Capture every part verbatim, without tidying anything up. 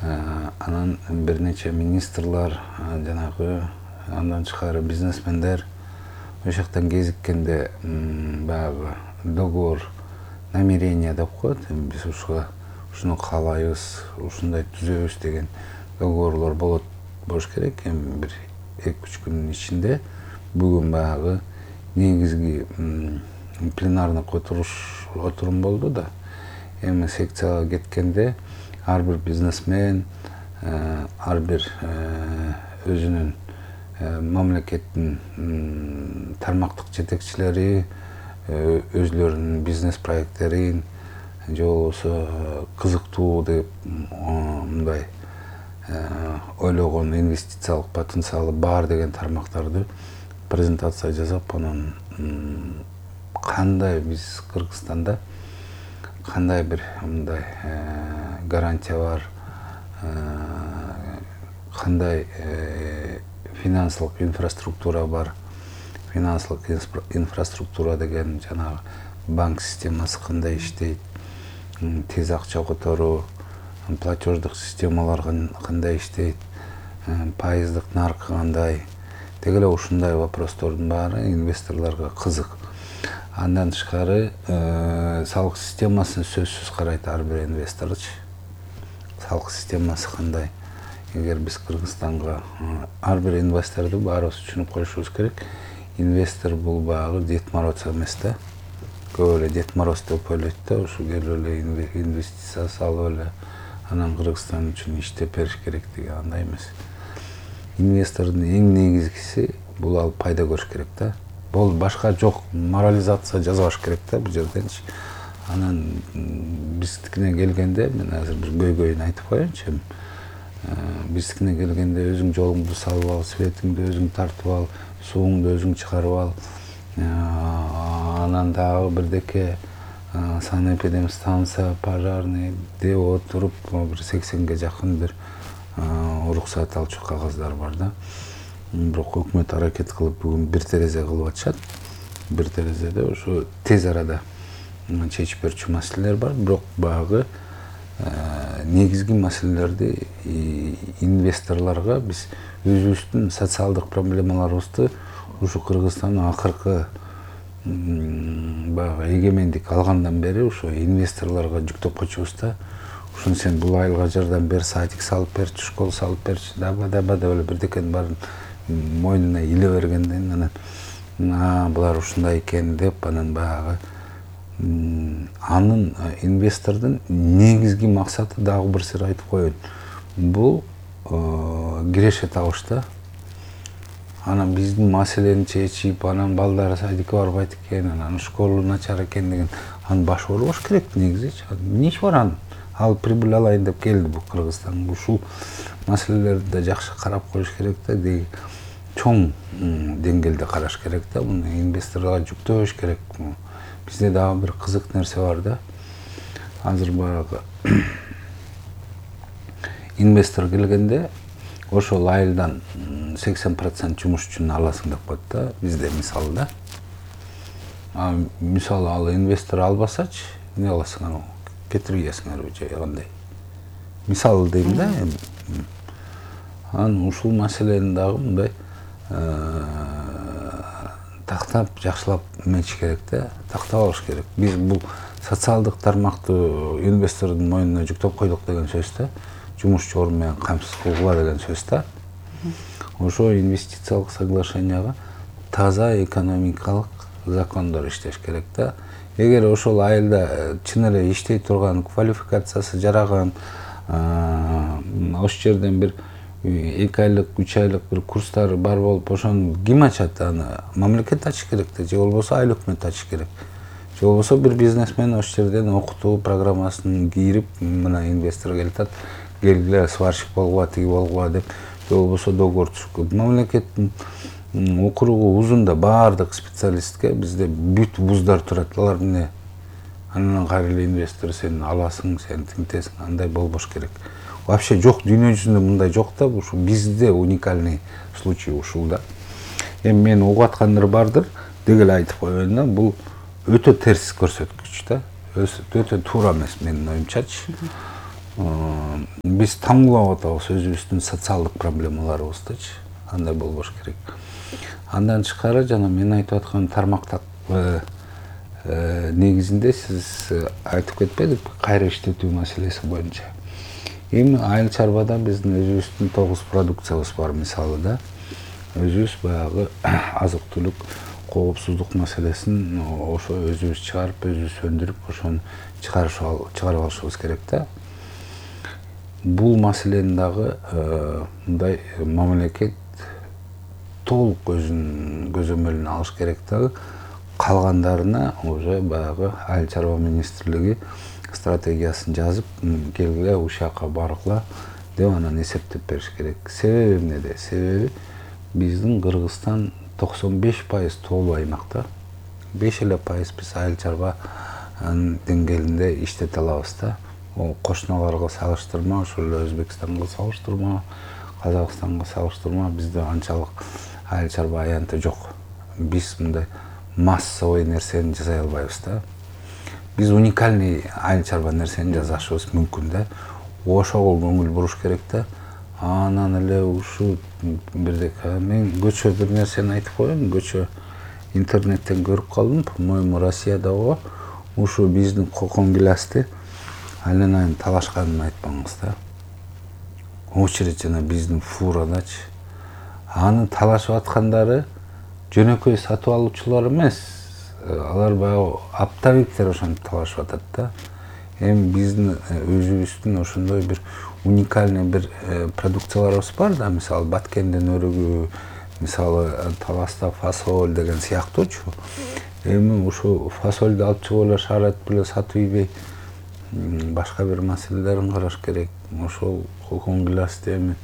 Анан бир нече министрлар, жанагы андан тышкары бизнесмендер ошол жактан кезиккенде баягы договор намерение деп коет. Биз ушуга ушуну каалайбыз, ушундай түзөбүз деген договорлор болот болуш керек. Эми бир эки үч күндүн ичинде бүгүн баягы негизги пленарный отуруш отурум болду да. Эми секцияга кеткенде ар бир бизнесмен, ар бир өзүнүн мамлекеттин тармактык жетекчилери өзлөрүнүн бизнес проекттерин же болбосо кызыктуу деп мындай ойлогон инвестициялык потенциалы бар деген тармактарды презентация жасап, анан кандай биз Кыргызстанда кандай бир мындай гарантия бар, кандай финансылык инфраструктура бар. Финансылык инфраструктура деген жанагы банк системасы кандай иштейт, тез акча которуу, платеждык системалар кандай иштейт, пайыздык наркы кандай. Деги эле ушундай вопростордун баары инвесторлорго кызык. Андан тышкары салык системасын сөзсүз карайт ар бир инвесторчу. Салык системасы кандай? Эгер биз Кыргызстанга ар бир инвесторду баарыбыз түшүнүп коюшубуз керек. Инвестор бул баягы Дед Мороз эмес да. Көп эле Дед Мороз деп ойлойт да, ушу келип эле инвестиция салып эле анан Кыргызстан үчүн иштеп бериш керек деген андай эмес. Инвестордун эң негизгиси бул алып пайда көрүш керек да. Бул башка жок, морализация жазбаш керек да бул жерденчи. Анан биздикине келгенде мен азыр бир көйгөйүн айтып коеюнчу. Биздикине келгенде өзүң жолуңду салып ал, светиңди өзүң тартып ал, сууңду өзүң чыгарып ал. Анан дагы бирдеке санэпидемстанция, пожарный деп отуруп бир сексенге жакын бир уруксат алчу кагаздар бар да. Бирок өкмөт аракет кылып бүгүн бир терезе кылып атышат. Бир терезеде ошо тез арада чечип берчү маселелер бар, бирок баягы негизги маселелерди инвесторлорго биз өзүбүздүн социалдык проблемаларыбызды ушу Кыргызстандын акыркы баягы эгемендик алгандан бери ошо инвесторлорго жүктөп койчубуз да. Ушуну сен бул айылга жардам бер, садик салып берчи, школа салып берчи, даба даба деп эле бирдекенин баарын мойнуна иле бергенден анан булар ушундай экен деп анан баягы анын инвестордун негизги максаты дагы бир сыр айтып коеюн. Бул киреше табыш да. Анан биздин маселени чечип, анан балдары садикке барбайт экен, анан школа начар экен деген анын башы оорубаш керек негизичи. Эмне иши бар анын? Ал прибыль алайын деп келди бул Кыргызстан. Ушул маселелерди да жакшы карап коюш керек да, деги чоң деңгээлде караш керек да, муну инвесторлорго жүктөбөш керек. Бизде дагы бир кызык нерсе бар да. Азыр баягы инвестор келгенде ошол айылдан сексен процент жумушчуну аласың деп коет да, бизде мисалы да. Мисалы ал инвестор албасачы, эмне кыласың анан? Кетирип ийесиңерби же кандай? Мисалы дейм да. Анан ушул маселени дагы мындай тактап, жакшылап эметиш керек да, тактап алыш керек. Биз бул социалдык тармакты инвестордун мойнуна жүктөп койдук деген сөз да. Жумушчу орун менен камсыз кылгыла деген сөз да. Ошо инвестициялык соглашенияга таза экономикалык закондор иштеш керек да. Эгер ошол айылда чын эле иштей турган, квалификациясы жараган, ошол жерден бир эки айлык, үч айлык бир курстары бар болуп, ошону ким ачат? Аны мамлекет ачыш керек да, же болбосо айыл өкмөт ачыш керек. Же болбосо бир бизнесмен ошол жерден окутуу программасын кирип, мына инвестор келатат, келгиле сварщик болгула, тиги болгула деп, же болбосо договор түзүп. Мамлекеттин окуругу узун да, баардык специалистке бизде бүт вуздар турат. Алар эмне? Анан кайра эле инвестор сен аласың, сен тинтесиң, андай болбош керек. Вообще жок, дүйнө жүзүндө мындай жок да, ушу бизде уникальный случай ушул да. Эми мен угуп аткандар бардыр, деги эле айтып коеюн да, бул өтө терс көрсөткүч да. Өтө туура эмес менин оюмчачы. биз таңлап атабыз өзүбүздүн социалдык проблемаларыбыздычы, андай болбош керек. Андан тышкары жана мен айтып аткан тармактак негизинде сиз айтып кетпедиңизби, кайра иштетүү маселеси боюнча. Эми айыл чарбада биздин өзүбүздүн тогуз продукциябыз бар, мисалы да. Өзүбүз баягы азык-түлүк, коопсуздук маселесин ошо өзүбүз чыгарып, өзүбүз өндүрүп, ошону чыгарып алышыбыз керек да. Бул маселени дагы мындай мамлекет толук өзүнүн көзөмөлүнө алыш керек дагы. Калгандарына уже баягы айыл чарба министрлиги стратегиясын жазып, келгиле ушул жака баргыла деп анан эсептеп бериш керек. Себеби эмнеде? Себеби биздин Кыргызстан токсон беш пайыз тоолуу аймакта. беш эле пайыз биз айыл чарба деңгээлинде иштете алабыз да. Кошуналарга салыштырма, ошол эле Өзбекстанга салыштырма, Казакстанга салыштырма бизде анчалык айыл чарба аянты жок. Биз мындай массовый нерсени жасай албайбыз да. Биз уникальный айыл чарба нерсени жасашыбыз мүмкүн да. Ошого көңүл буруш керек да. Анан эле ушул бирдеке мен көчө бир нерсени айтып коеюн. Көчө интернеттен көрүп калдым. По-моему, Россияда го ушу биздин кокон гилясты айынан айын талашканын айтпаңыз да. Очередь жана биздин фурадачы. Аны талашып аткандары жөнөкөй сатып алуучулар эмес. Алар баягы оптовиктер ошентип талашып атат да. Эми биздин өзүбүздүн ошондой бир уникальный бир продукцияларыбыз бар да, мисалы Баткенден өрүгү, мисалы Таласта фасоль деген сыяктуучу. Эми ушу фасольду алып чыгып эле шаарат беле сатып ийбей, башка бир маселелерин караш керек. Ошол кокон гилясты эми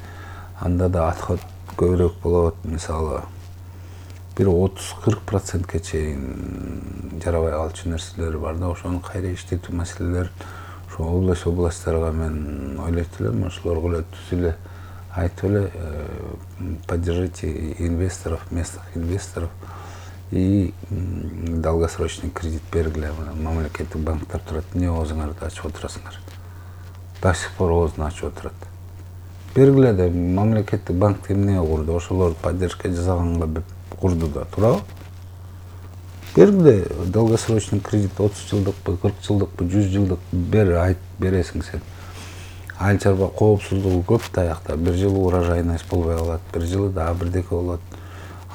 анда да отход көбүрөөк болот, мисалы бир отуз кырк процентке чейин жарабай калчу нерселери бар да. Ошону кайра иштетүү маселелерин ошо область областтарга мен ойлойт элем, ошолорго эле түз эле айтып эле поддержите инвесторов, местных инвесторов и долгосрочный кредит бергиле. Мамлекеттик банктар турат, эмне оозуңарды ачып отурасыңар? До сих пор оозун ачып отурат. Бергиле да, мамлекеттик банк эмне курду? Ошолорду поддержка жасаганга курду да, туурабы? Бергиле долгосрочный кредит отуз жылдыкпы, кырк жылдыкпы, жүз жылдыкпы бер, айт бересиң сен. Айыл чарба коопсуздугу көп таякта. Бир жылы урожайность болбой калат, бир жылы да бирдеке болот.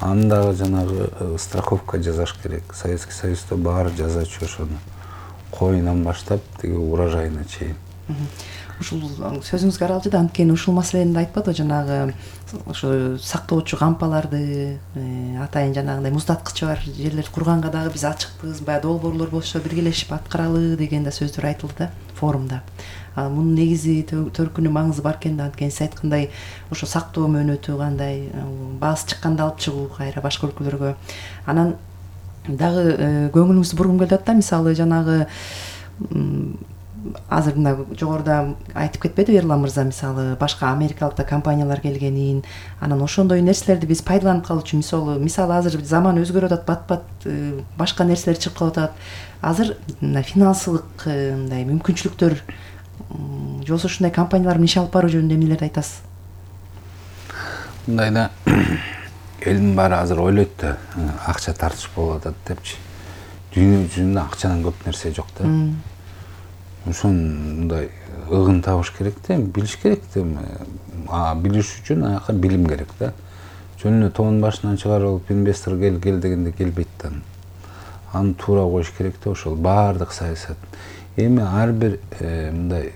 Аны дагы жанагы страховка жасаш керек. Советский Союзда баары жасачу ошону. Коюнан баштап тиги урожайына чейин. Ушул сөзүңүзгө аралжы да анткени ушул маселени да айтпадыбы, жанагы ошо сактоочу кампаларды, атайын жанагындай муздаткычы бар жерлерди курганга дагы биз ачыкпыз, баягы долбоорлор болсо биргелешип аткаралы деген да сөздөр айтылды да форумда. Мунун негизи төркүнү маңызы бар экен да, анткени сиз айткандай ошо сактоо мөөнөтү кандай, баасы чыкканда алып чыгуу кайра башка өлкөлөргө. Анан дагы көңүлүңүздү бургум келип атат да, мисалы жанагы азыр мына жогоруда айтып кетпедиби Эрлан мырза, мисалы башка америкалык да компаниялар келгенин, анан ошондой нерселерди биз пайдаланып калчу. Мисалы мисалы азыр заман өзгөрүп атат, бат-бат башка нерселер чыгып калып атат. Азыр мына финансылык мындай мүмкүнчүлүктөр же болбосо ушундай компаниялар менен иш алып баруу жөнүндө эмнелерди айтасыз? Мындай да элдин баары азыр ойлойт да, акча тартыш болуп атат депчи. Дүйнө жүзүндө акчадан көп нерсе жок да. Ошону мындай ыгын табыш керек да, билиш керек да. А билиш үчүн аяка билим керек да. Жөн эле тоонун башынан чыгарып алып инвестор кел кел дегенде келбейт да. Аны туура коюш керек да, ошол баардык саясат. Эми ар бир мындай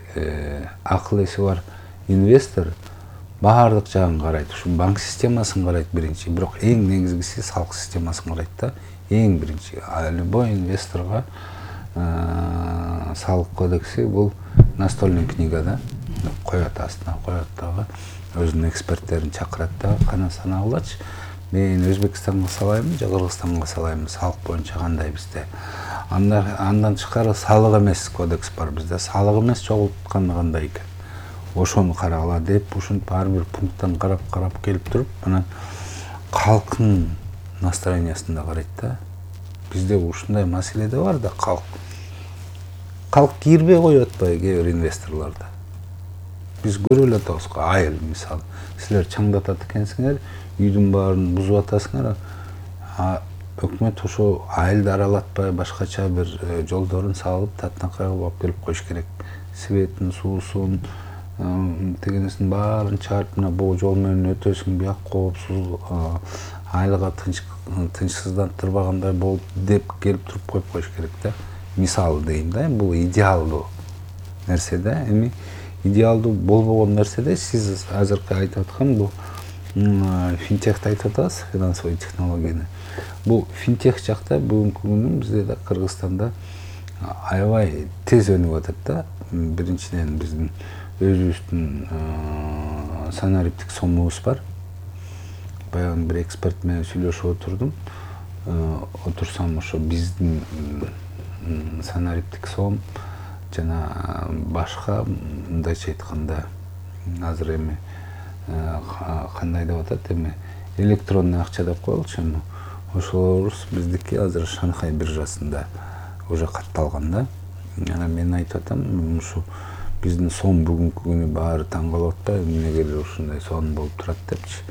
акыл эси бар инвестор баардык жагын карайт. Ушу банк системасын карайт биринчи, бирок эң негизгиси салык системасын карайт да. Эң биринчи любой инвесторго салык кодекси бул настольный книга да. Коет астына, коет дагы өзүнүн эксперттерин чакырат да, кана санагылачы. Мен Өзбекстанга салаймын, же Кыргызстанга салаймын, салык боюнча кандай бизде. Андан тышкары салык эмес кодекс бар бизде. Салык эмес чогултканы кандай экен. Ошону карагыла деп, ушинтип ар бир пункттан карап-карап келип туруп, анан калктын настроениясын да карайт да. Бизде ушундай маселе да бар да, калк. Калк кирбей коюп атпайбы кээ бир инвесторлордо. Биз көрүп эле атабыз го, айыл мисалы. Силер чаңдатат экенсиңер, үйдүн баарын бузуп атасыңар. Өкмөт ошо айылды аралатпай башкача бир жолдорун салып, татынакай кылып алып келип коюш керек. Светин, суусун, тегенесин баарын чыгарып, мына бул жол менен өтөсүң, бияк коопсуз, айылга тынчсыздандырбагандай болуп деп келип туруп коюп коюш керек да. Мисалы дейм да, бул идеалдуу нерсе да. Эми идеалдуу болбогон нерседе сиз азыркы айтып аткан бул финтехти айтып атабыз, финансовый технологияны. Бул финтех жакта бүгүнкү күнү бизде да Кыргызстанда аябай тез өнүп атат да. Биринчиден биздин өзүбүздүн санариптик сомубуз бар. Баягы бир эксперт менен сүйлөшүп отурдум. Отурсам ошо биздин санариптик сом жана башка мындайча айтканда азыр эми кандай деп атат эми электронный акча деп коелучу эми ошолорубуз биздики азыр Шанхай биржасында уже катталган да. Анан мен айтып атам, ушу биздин сом бүгүнкү күнү баары таң калып атпайбы, эмнеге эле ушундай сом болуп турат депчи.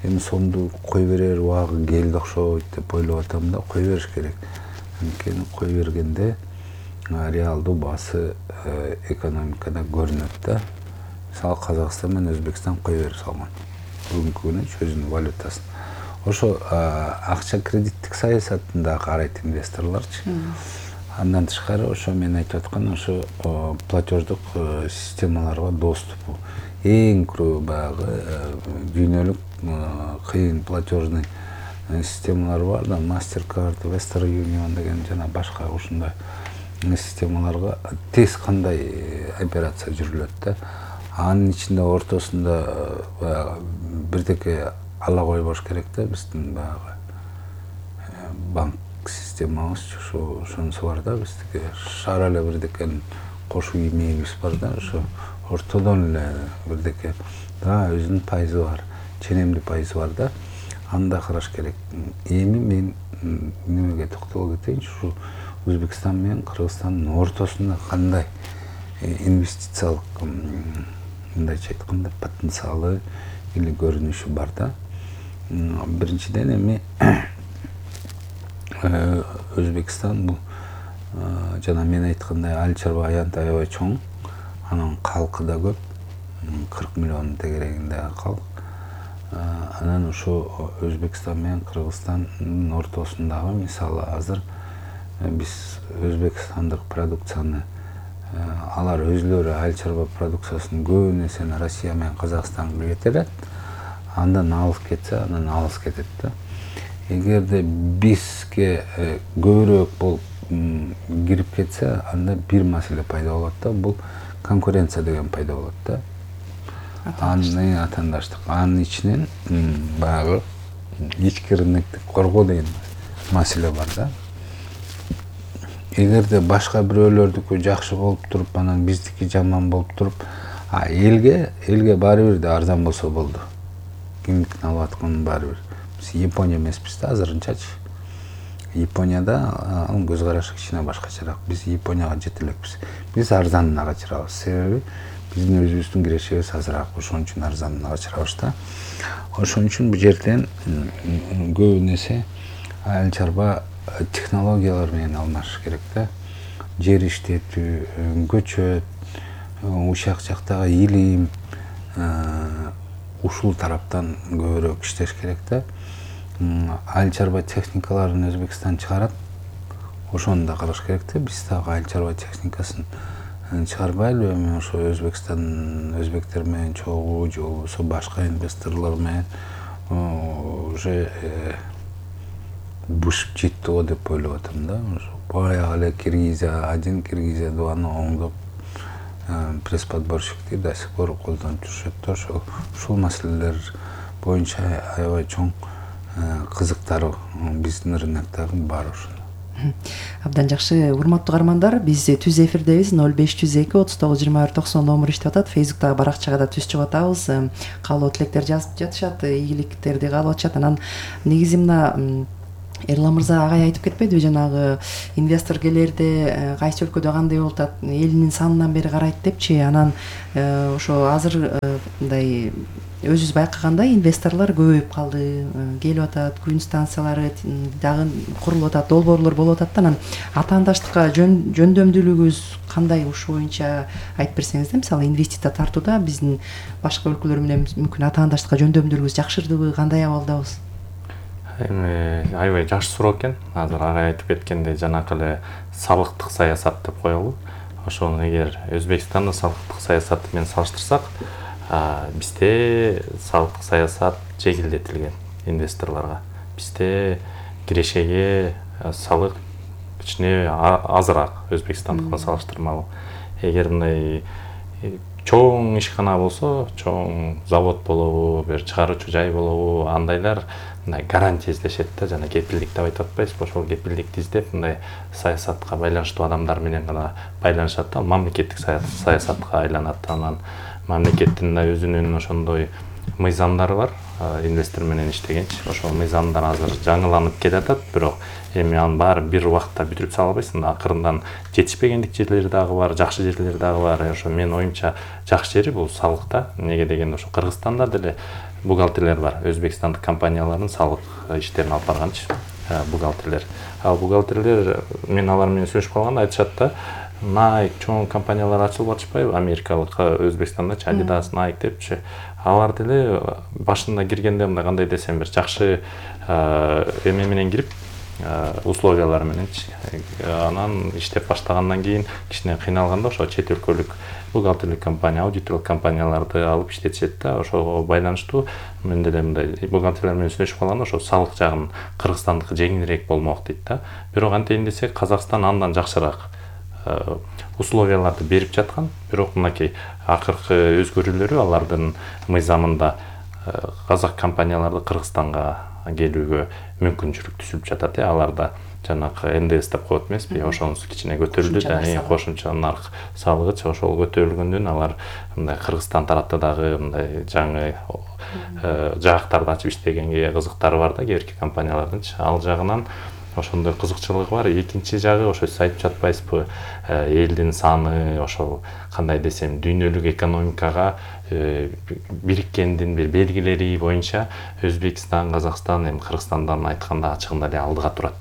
Эми сомду кой берер убагы келди окшойт деп ойлоп атам да, кой бериш керек. Анткени кой бергенде реалдуу баасы экономикада көрүнөт да. Мисалы Казакстан менен Өзбекстан кой берип салган. Бүгүнкү күнү өзүнүн валютасын. Ошо акча кредиттик саясатын да карайт инвесторлорчу. Андан тышкары ошо мен айтып аткан ошо платеждук системаларга доступу. Эң көрө баягы дүйнөлүк кыйын платежный системалар бар да, MasterCard, Western Union деген жана башка ушундай системаларга тез кандай операция жүрүлөт да. Анын ичинде ортосунда баягы бирдеке ала койбош керек да, биздин баягы банк системабыз ошо ошонусу бар да, биздики шаар эле бирдекенин кошуу имегибиз бар да, ошо ортодон эле бирдеке да өзүнүн пайызы бар, ченемдүү пайызы бар да. Аны да караш керек. Эми мен немеге токтоло кетейинчи, ушу Өзбекстан менен Кыргызстандын ортосунда кандай инвестициялык мындайча айтканда потенциалы или көрүнүшү бар да. Биринчиден эми Өзбекстан бул жана мен айткандай айыл чарба аянт аябай чоң, анын калкы да көп, кырк миллион тегерегинде калк. Анан ошо Өзбекстан менен Кыргызстандын ортосундагы мисалы азыр биз өзбекстандык продукцияны алар өзүлөрү айыл чарба продукциясын көп нерсени Россия менен Казакстанга кетирет, андан алыс кетсе, анан алыс кетет да. Эгерде бизге көбүрөөк болуп кирип кетсе, анда бир маселе пайда болот да, бул конкуренция деген пайда болот да. Анын атаандаштык, анын ичинен баягы ички рынокти коргоо деген маселе бар да. Эгерде башка бирөөлөрдүкү жакшы болуп туруп, анан биздики жаман болуп туруп, а элге элге баары бир да арзан болсо болду. Кимдикин алып аткан баары бир. Биз Япония эмеспиз да азырынчачы. Японияда анын көз карашы кичине башкачараак. Биз Японияга жете элекпиз. Биз арзанына качырабыз. Себеби биздин өзүбүздүн кирешибиз азыраак, ошон үчүн арзанына качырабыз да. Ошон үчүн бул жерден көп нерсе айыл чарба технологиялар менен алмашыш керек да. Жер иштетүү, көчөт, ушак жактагы илим, ушул тараптан көбүрөөк иштеш керек да. Айыл чарба техникаларын Өзбекстан чыгарат. Ошону да караш керек да. Биз дагы айыл чарба техникасын чыгарбайлыбы? Эми ошо Өзбекстан, өзбектер менен чогуу же болбосо башка инвесторлор менен уже бушуп жетти го деп ойлоп атам да. Баягы эле Киргизия один, Киргизия дваны оңдоп пресс-подборщикти до сих пор колдонуп жүрүшөт да. Ошол ушул маселелер боюнча аябай чоң кызыктар биздин рыноктагы бар ошондо. Абдан жакшы, урматтуу каармандар, биз түз эфирдебиз. ноль беш жүз эки отуз тогуз жыйырма бир токсон номер иштеп атат. Фейсбуктагы баракчага да түз чыгып атабыз. Каалоо тилектер жазып жатышат, ийгиликтерди каалап атышат. Анан негизи мына Эрлан мырза агай айтып кетпедиби, жанагы инвестор келерде кайсы өлкөдө кандай болуп атат, элинин санынан бери карайт депчи. Анан ошо азыр мындай өзүбүз байкагандай инвесторлор көбөйүп калды, келип атат, күн станциялары дагы курулуп атат, долбоорлор болуп атат да. Анан атаандаштыкка жөндөмдүүлүгүбүз кандай, ушул боюнча айтып берсеңиз да. Мисалы инвестиция тартууда биздин башка өлкөлөр менен мүмкүн атаандаштыкка жөндөмдүүлүгүбүз жакшырдыбы, кандай абалдабыз? Эми аябай жакшы суроо экен. Азыр агай айтып кеткендей, жанакы эле салыктык саясат деп коелу. Ошону эгер Өзбекстандын салыктык саясаты менен салыштырсак, бизде салыктык саясат жеңилдетилген инвесторлорго. Бизде кирешеге салык кичине азыраак Өзбекстандыкына салыштырмалуу. Эгер мындай чоң ишкана болсо, чоң завод болобу, бир чыгаруучу жай болобу, андайлар мындай гарантия издешет да, жана кепилдик деп айтып атпайсызбы? Ошол кепилдикти издеп, мындай саясатка байланыштуу адамдар менен гана байланышат да, мамлекеттик саясатка айланат. Анан мамлекеттин да өзүнүн ошондой мыйзамдары бар, инвестор менен иштегенчи. Ошол мыйзамдар азыр жаңыланып келатат, бирок эми анын баары бир убакта бүтүрүп сала албайсың. Акырындан жетишпегендик жерлери дагы бар, жакшы жерлери дагы бар. Ошо менин оюмча жакшы жери бул салыкта. Неге дегенде ошо Кыргызстанда деле бухгалтерлер бар, өзбекстандык компаниялардын салык иштерин алып барганчы бухгалтерлер. Ал бухгалтерлер, мен алар менен сүйлөшүп калганда айтышат да, Nike чоң компаниялар ачылып атышпайбы, америкалык Өзбекстанда Adidas, Nike депчи. Алар деле башында киргенде мындай кандай десем бир жакшы эме менен кирип, условиялар мененчи. Анан иштеп баштагандан кийин кичине кыйналганда ошо чет өлкөлүк бухгалтерлик компания, аудиторлук компанияларды алып иштетишет да. Ошого байланыштуу мен деле мындай бухгалтерлер менен сүйлөшүп калганда ошо салык жагын Кыргызстандыкы жеңилирээк болмок дейт да. Бирок антейин десек, Казакстан андан жакшыраак условияларды берип жаткан. Бирок мынакей акыркы өзгөрүүлөрү алардын мыйзамында казак компанияларды Кыргызстанга келүүгө мүмкүнчүлүк түзүлүп жатат. Аларда жанакы эн дэ эс деп коет эмеспи, ошонусу кичине көтөрүлдү да, кошумча нарк салыгы ошол көтөрүлгөндөн алар мындай Кыргызстан тарапта дагы мындай жаңы жаактарды ачып иштегенге кызыктары бар да, кээ бирки компаниялардынчы. Ал жагынан ошондой кызыкчылыгы бар. Экинчи жагы ошо сиз айтып жатпайсызбы, элдин саны, ошол кандай десем, дүйнөлүк экономикага бириккендин бир белгилери боюнча Өзбекстан, Казакстан, эми Кыргызстандан айтканда ачыгында эле алдыга турат.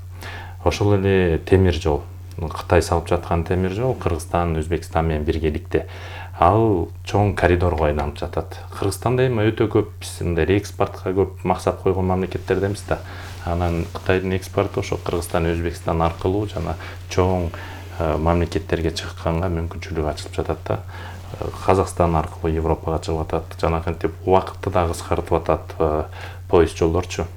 Ошол эле темир жол, Кытай салып жаткан темир жол Кыргызстан, Өзбекстан менен биргеликте. Ал чоң коридорго айланып жатат. Кыргызстанда эми өтө көп биз мындай экспортко көп максат койгон мамлекеттерденбиз да. Анан Кытайдын экспорту ошо Кыргызстан, Өзбекстан аркылуу жана чоң мамлекеттерге чыкканга мүмкүнчүлүк ачылып жатат да. Казакстан аркылуу Европага чыгып атат, жанакынтип убакытты да кыскартып атат поезд жолдорчу.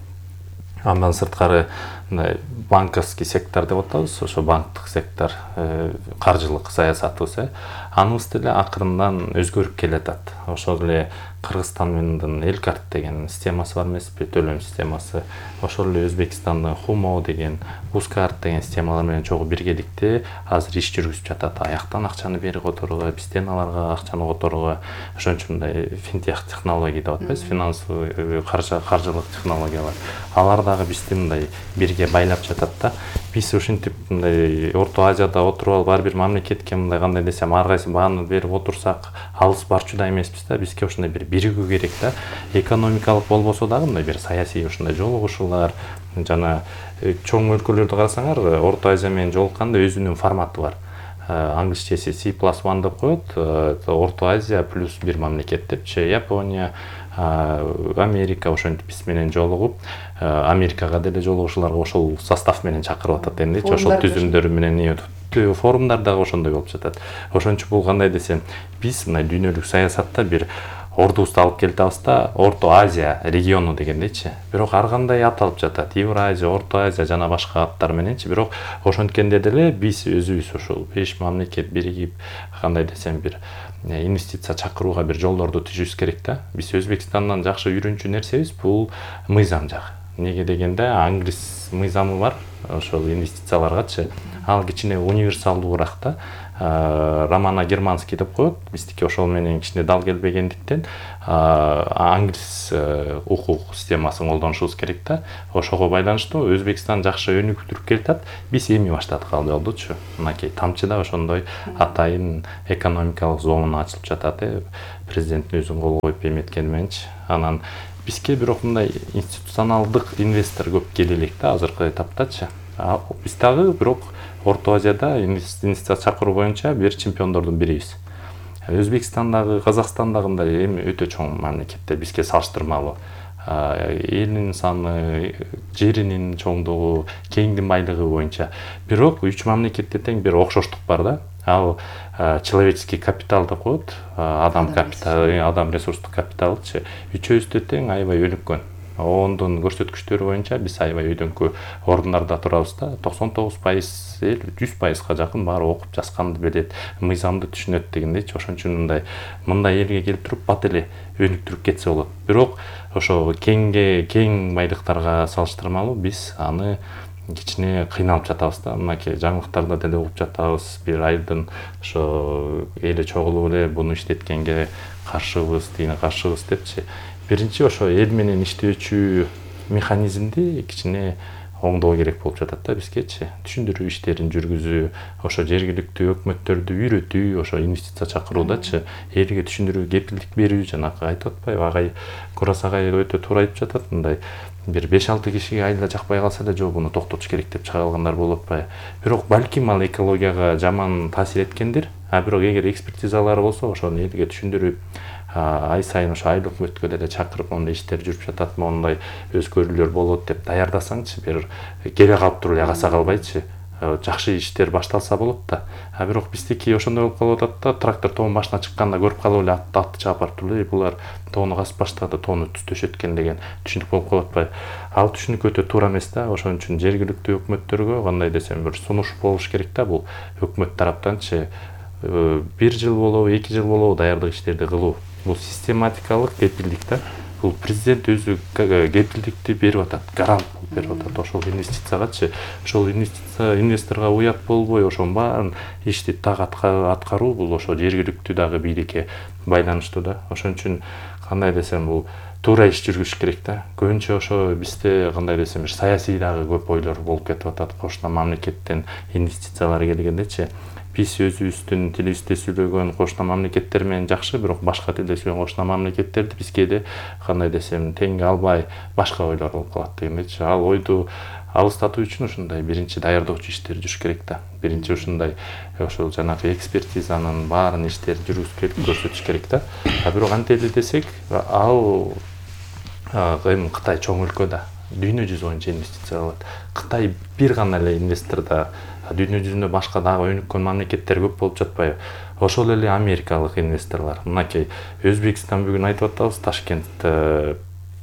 Андан сырткары мындай банковский сектор деп атабыз, ошо банктык сектор, каржылык саясатыбыз, аныбыз деле акырындан өзгөрүп келатат. Ошол эле Кыргызстандын Элкарт деген системасы бар эмеспи, төлөм системасы. Ошол эле Өзбекстандын Хумо деген, Ускарт деген системалар менен чогуу биргеликте азыр иш жүргүзүп жатат. Аяктан акчаны бери которууга, бизден аларга акчаны которууга, ошон үчүн мындай финтех технология деп атпайбыз, финансовый каржылык технологиялар. Алар дагы бизди мындай бирге байлап жатат да. Биз ушинтип мындай Орто Азияда отуруп алып ар бир мамлекетке мындай кандай десем, ар кайсы бааны берип отурсак, алыс барчу да эмеспиз да. Бизге ушундай бир биригүү керек да. Экономикалык болбосо дагы мындай бир саясий ушундай жолугушуулар, жана чоң өлкөлөрдү карасаңар, Орто Азия менен жолукканда өзүнүн форматы бар. Англисчеси си плюс один деп коет, Орто Азия плюс бир мамлекет депчи, Япония, Америка ошентип биз менен жолугуп, Америкага деле жолугушууларга ошол состав менен чакырып атат эмнечи, ошол түзүмдөр менен форумдар дагы ошондой болуп жатат. Ошончо бул кандай десем, биз мына дүйнөлүк саясатта бир ордубузду алып келип атабыз да, Орто Азия региону дегендейчи. Бирок ар кандай аталып жатат, Евразия, Орто Азия жана башка аттар мененчи. Бирок ошонткенде деле биз өзүбүз ошол беш мамлекет биригип, кандай десем, бир инвестиция чакырууга бир жолдорду түзүшүбүз керек да. Биз Өзбекстандан жакшы үйрөнчү нерсебиз бул мыйзам жагы. Неге дегенде, англис мыйзамы бар, ошол инвестицияларгачы. Ал кичине универсалдуураак да. Романа Германский деп коет. Биздики ошол менен кичине дал келбегендиктен англис укук системасын колдонушубуз керек да. Ошого байланыштуу Өзбекстан жакшы өнүктүрүп келатат. Биз эми баштадык ал жолдучу. Мынакей тамчыда ошондой атайын экономикалык зона ачылып жатат. Президенттин өзүн кол коюп эметкени мененчи. Анан бизге бирок мындай институционалдык инвестор көп келе элек да азыркы этаптачы. Биз дагы бирок Орто Азияда инвестиция чакыруу боюнча бир чемпиондордун бирибиз. Өзбекстандагы, Казакстандагындай эми өтө чоң мамлекеттер бизге салыштырмалуу. Элинин саны, жеринин чоңдугу, кеңдин байлыгы боюнча. Бирок үч мамлекетте тең бир окшоштук бар да. Ал человеческий капитал деп коет, адам капиталы, адам ресурстук капиталчы. Үчөөбүздө тең аябай өнүккөн. Ондун көрсөткүчтөрү боюнча биз аябай өйдөңкү орундарда турабыз да. токсон тогуз пайыз эл жүз пайызга жакын баары окуп жазганды билет, мыйзамды түшүнөт дегендейчи. Ошон үчүн мындай мындай элге келип туруп бат эле өнүктүрүп кетсе болот. Бирок ошо кеңге кең байлыктарга салыштырмалуу биз аны кичине кыйналып жатабыз да. Мынакей жаңылыктарда деле угуп жатабыз. Бир айдын ошо эли чогулуп эле буну иштеткенге каршыбыз, тигине каршыбыз депчи. Биринчи ошо эл менен иштөөчү механизмди кичине оңдоо керек болуп жатат да бизгечи. Түшүндүрүү иштерин жүргүзүү, ошо жергиликтүү өкмөттөрдү үйрөтүү, ошо инвестиция чакыруудачы элге түшүндүрүү, кепилдик берүү, жанагы айтып атпайбы, агай Курас агай өтө туура айтып жатат. Мындай бир беш алты кишиге айла жакпай калса эле жок буну токтотуш керек деп чыга алгандар болуп атпайбы. Бирок балким ал экологияга жаман таасир эткендир. А бирок эгер экспертизалар болсо ошону элге түшүндүрүп, ай сайын ошо айыл өкмөткө деле чакырып мондай иштер жүрүп жатат, мондай өзгөрүүлөр болот деп даярдасаңчы, бир келе калып туруп эле каса калбайчы, жакшы иштер башталса болот да. А бирок биздики ошондой болуп калып атат да, трактор тоонун башына чыкканда көрүп калып эле атты атты чаап барып туруп эле булар тоону касып баштады, тоону төшөткөн деген түшүнүк болуп калып атпайбы. Ал түшүнүк өтө туура эмес да. Ошон үчүн жергиликтүү өкмөттөргө кандай десем бир сунуш болуш керек да, бул өкмөт тараптанчы бир жыл болобу, эки жыл болобу даярдык иштерди кылуу. Бул систематикалык кепилдик да. Бул президент өзү кепилдикти берип атат, гарант берип атат ошол инвестициягачы. Ошол инвестиция инвесторго уят болбой, ошонун баарын ишти так аткаруу бул ошо жергиликтүү дагы бийликке байланыштуу да. Ошон үчүн кандай десем бул туура иш жүргүзүш керек да. Көбүнчө ошо бизде кандай десем саясий дагы көп ойлор болуп кетип атат. Кошуна мамлекеттен инвестициялар келгендечи. Биз өзүбүздүн тилибизде сүйлөгөн кошуна мамлекеттер менен жакшы, бирок башка тилде сүйлөгөн кошуна мамлекеттерди бизге де кандай десем теңге албай башка ойлор болуп калат дегендечи. Ал ойду алыстатуу үчүн ушундай биринчи даярдоочу иштер жүрүш керек да. Биринчи ушундай ошол жанагы экспертизанын баарын иштер жүргүзүп келип көрсөтүш керек да. А бирок антели десек, ал эми Кытай чоң өлкө да. Дүйнө жүзү боюнча инвестиция кылат. Кытай бир гана эле инвестор да. Дүйнө жүзүндө башка дагы өнүккөн мамлекеттер көп болуп жатпайбы? Ошол эле америкалык инвесторлор. Мынакей Өзбекстан бүгүн айтып атабыз, Ташкент